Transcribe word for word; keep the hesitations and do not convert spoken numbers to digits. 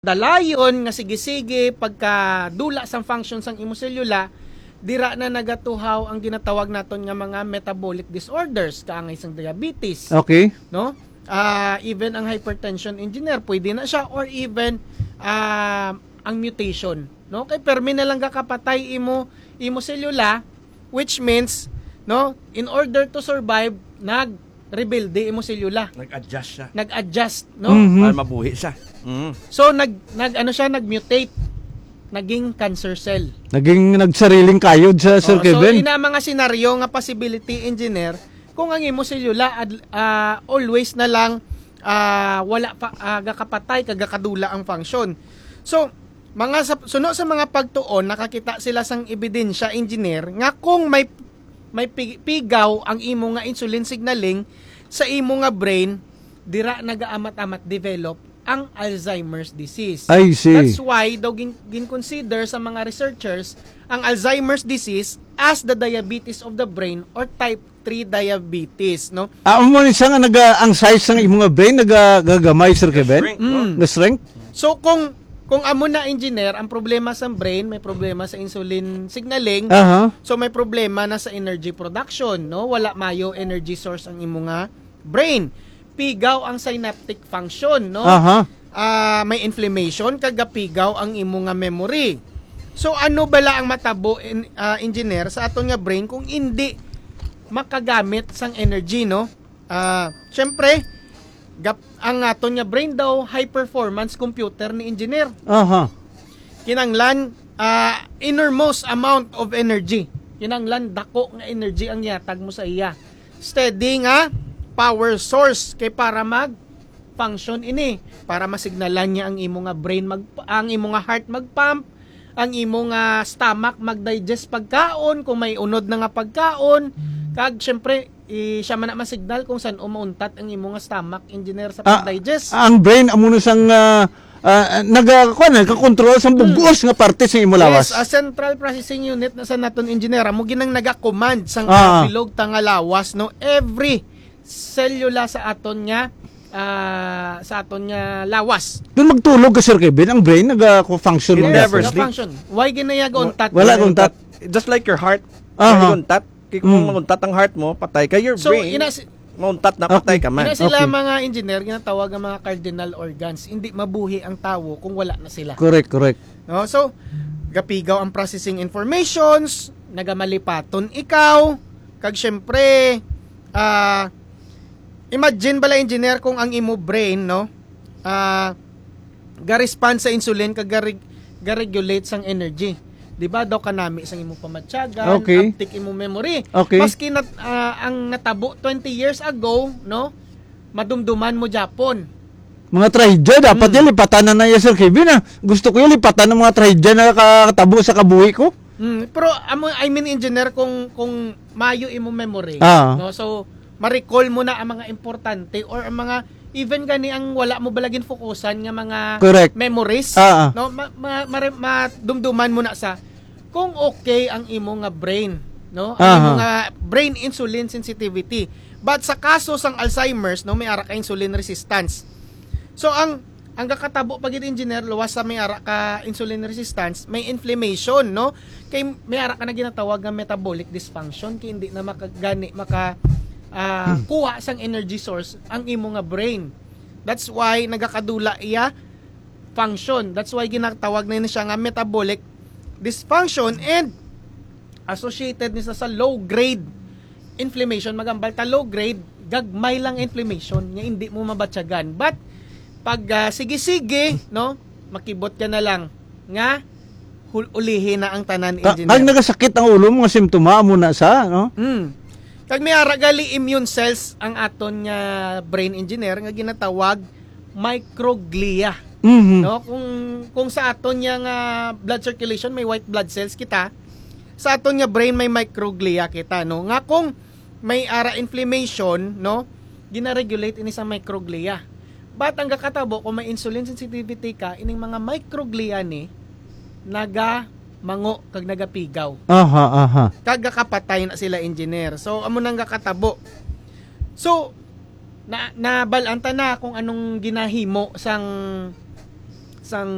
dalayon nga sige-sige pagkadula sang function sang imo selula, dira na nagatuhaw ang ginatawag naton nga mga metabolic disorders, kaangay sang diabetes, Okay. no? Ah, even ang hypertension, engineer, pwede na siya, or even, ah, ang mutation, no? Kay permi na lang gakapatay imo, imo selula, which means, no, in order to survive, nag-rebelde imo selula. Nag-adjust siya. Nag-adjust, no? Mhm. Para mabuhi siya. Mm. So, nag-, nag-, ano siya, nag-mutate. Naging cancer cell. Naging nagsariling kayod sa Sir Oh, so, Kevin? ina mga senaryo nga possibility, engineer, kung ang imo selula ad-, ah, always na lang, ah, wala pa, ah, gakapatay, kag gakadula ang function. So, mga sa, suno sa mga pagtuon, nakakita sila sang ebidensya, engineer, nga kung may, may pi-, pigaw ang imo nga insulin signaling sa imo nga brain, dira nagaamat-amat develop ang Alzheimer's disease. I see. That's why daw gin-, gin-consider sa mga researchers ang Alzheimer's disease as the diabetes of the brain or type three diabetes, no? Ah, amo ni siya nga naga-, ang size sang imo nga brain nagagamay, Sir Kevin? Shrink, no? Mm. Nga shrink? So, kung, kung amo na, engineer, ang problema sa brain, may problema sa insulin signaling. Aha. So, may problema na sa energy production, no? Wala mayo energy source ang imo nga brain. Pigaw ang synaptic function, no? Aha. Ah, may inflammation, kag gapigaw ang imo nga memory. So, ano bala ang matabo, en-, ah, engineer, sa aton nga brain kung hindi makagamit sang energy, no? Ah, syempre, gap-, ang aton nga brain daw, high performance computer ni engineer. Aha. Kinanglan, ah, enormous amount of energy. Kinanglan dako nga energy ang yatag mo sa iya. Steady nga power source kay para mag function ini, para masignalan niya ang imo nga brain mag-, ang imo nga heart mag-pump, ang imo nga stomach mag-digest pagkaon kung may unod na nga pagkaon, kag syempre, i-, siya man na masignal kung san-o mauntat ang imo nga stomach, engineer, sa Ah, pag-digest. Ang brain amo na sang, ah, ah, naga-, kuwan, nagkakontrol sa Hmm. bug-os nga parte sa imo lawas. Yes, a central processing unit na sa naton, engineer, amo ginang naga-command sang Ah. bilog ta nga lawas, no? Every selula sa aton nga, ah, sa aton nga lawas. Kung magtulog ka, Sir Kevin, ang brain naga-function It mo never dapat. sleep. Function. Why ginaya gauntat? Wala gauntat. Just like your heart. Aha. Wala gauntat. Kay kung Mm. mauntat ang heart mo, patay ka, your So, brain, ina si mauntat na, Okay. patay ka man. Ina sila Okay. mga engineer, ginatawag ang mga cardinal organs. Hindi mabuhi ang tawo kung wala na sila. Correct, correct. No? So, gapigaw ang processing informations, nagamalipaton ikaw, kag syempre, ah, imagine bala, engineer, kung ang imo brain, no, ah, ga-respond sa insulin kag ga-reg-, ga-regulate sang energy. Di ba, daw kanami sang imo pamatyagan, Okay. uptake imo memory. Okay. Maski nat-, ah, ang natabo twenty years ago, no, madumduman mo gyapon. Mga trahedya, dapat Hmm. yan, lipatan na na yan, Sir Kevin, ah. Gusto ko yan, lipatan ang mga trahedya na nakatabo sa kabuhi ko. Hmm, pero, amo, I mean, engineer, kung, kung mayo imo memory, Ah. no? So, ma-recall mo na ang mga importante or ang mga, even gani ang wala mo bala ginfokusan nga mga Correct. memories, Ah, ah. no? Ma-, ma-, mare-, madumduman mo na sa kung okay ang imo nga brain, no? Ang Aha. imo nga brain insulin sensitivity. But sa kaso sang Alzheimer's, no, may ara ka insulin resistance. So, ang, ang gakatabo pa gid, engineer, luwas sa may ara ka insulin resistance, may inflammation, no? Kay may ara ka na ginatawag nga metabolic dysfunction, kay hindi na maka-, gani maka, ah, Hmm. kuha sang energy source ang imo nga brain. That's why nagakadula iya function. That's why ginatawag na siya nga metabolic dysfunction and associated ni sa, sa low grade inflammation. Magambal ta low grade, gagmay lang inflammation nga hindi mo mabatyagan. But pag, ah, sige-sige, no, makibot ka na lang nga hul-, ulihi na ang tanan, Ta-, engineer. Kag nagasakit ang ulo mo nga simptoma mo na sa, no? Mm. Kag may ara gali immune cells ang aton nga brain, engineer, nga ginatawag microglia. Mhm. No, kung, kung sa aton nga, nga blood circulation may white blood cells kita, sa aton nga brain may microglia kita, no, nga kung may ara inflammation, no, ginaregulate ini sa microglia. But ang gakatabo, kung may insulin sensitivity ka, ining mga microglia ni nagamango kag nagapigaw. Aha, aha. Kag gakapatay na sila, engineer. So, amo nang gakatabo. So, na, nabal-an ta na kung anong ginahimo sang, sang